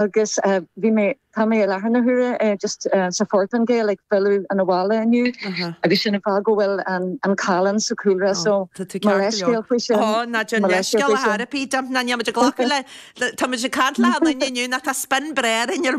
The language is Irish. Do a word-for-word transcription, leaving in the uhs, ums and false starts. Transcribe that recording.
Agus bhí mé tá mé i láthair na huaire just sa Phortaingéil ag filleadh an abhaile inniu agus sin an fáth go bhfuil an callán sa chúlra so mo leithscéal faoi sin. Ó ná déan leithscéal ar bith, ná níl muid ag glacadh le tá muid ag caint le duine inniu nach tá spin breá ar